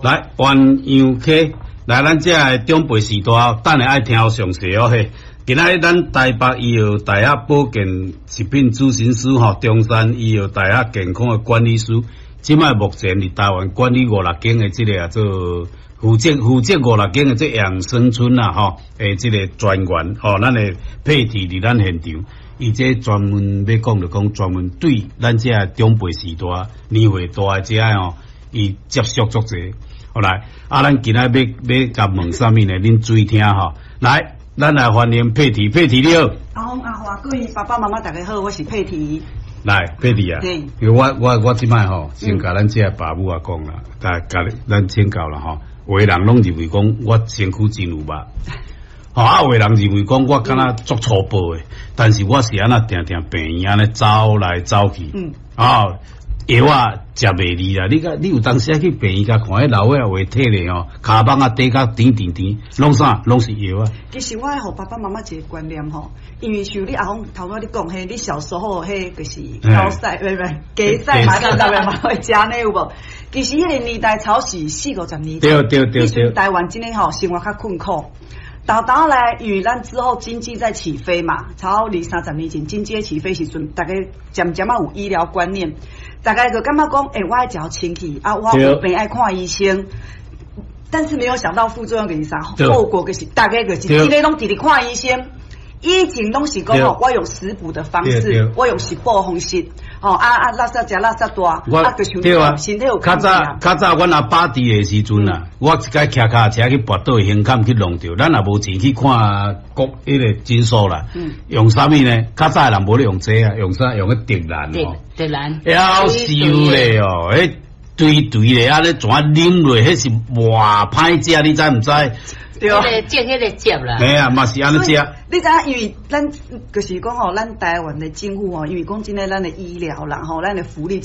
來鸳鸯溪，來咱遮的長輩時代，等下愛聽詳細哦嘿。今仔日咱台北醫藥大學保健食品諮詢師吼，中山醫藥大學健康的管理師，這擺目前佇台灣管理五六間的這个啊做負責五六間的這養生村啊吼，的這个專員吼，咱的佩蒂佇咱現場，伊這專門欲講就講專門對咱遮的長輩時代年歲大的遮吼，伊接觸足濟。好來，啊，咱今仔欲欲共問啥物呢？恁注意聽吼。來，咱來歡迎佩蒂，佩蒂你好。阿峰阿華，各位爸爸媽媽大家好，我是佩蒂。來，佩蒂啊，因為我這擺吼，先共咱這爸母仔講啦，共共咱請教啦吼。有的人攏認為講我身軀真有肉，吼啊，有的人認為講我敢若足粗暴的，但是我是按怎定定病院按呢走來走去，啊。藥仔食袂膩啦，你甲你有當時去病院共看，彼老歲仔有體咧吼，跤蠓仔短甲甜甜甜，攏啥攏是藥仔。其實我愛予爸爸媽媽一個觀念吼，因為像你阿峰頭拄仔你講彼，你小時候彼就是高賽，毋毋雞屎嘛，對不嘛會食呢有無？其實彼个年代超是四五十年前，台灣真的吼生活較困苦。到頭來，因為咱之後經濟在起飛嘛，超二三十年前經濟起飛時陣，大家漸漸仔有醫療觀念，大家就感覺講，欸，我愛食清氣啊，我有病愛看醫生。但是沒有想到副作用就是啥，後果就是大家就是這个攏直直看醫生。以前攏是講吼，我用食補的方式，我用食補方式，吼啊啊，垃圾食垃圾大，啊就對啊，身體有較早較早，阮阿爸佇的時陣啊，我一擺騎腳踏車去跋倒胸坎去弄著，咱也無錢去看國彼个診所啦。用啥物呢？較早的人無咧用這啊，用啥？用彼竹蘭哦。竹蘭。夭壽咧哦，彼堆堆咧，按呢怎啉落？彼是偌歹食，你知毋知？對，彼个種彼个汁啦。嘿啊，嘛是按呢食。你知影，因為咱就是講吼，咱台灣的政府吼，因為講真的，咱的醫療啦吼，咱的福利。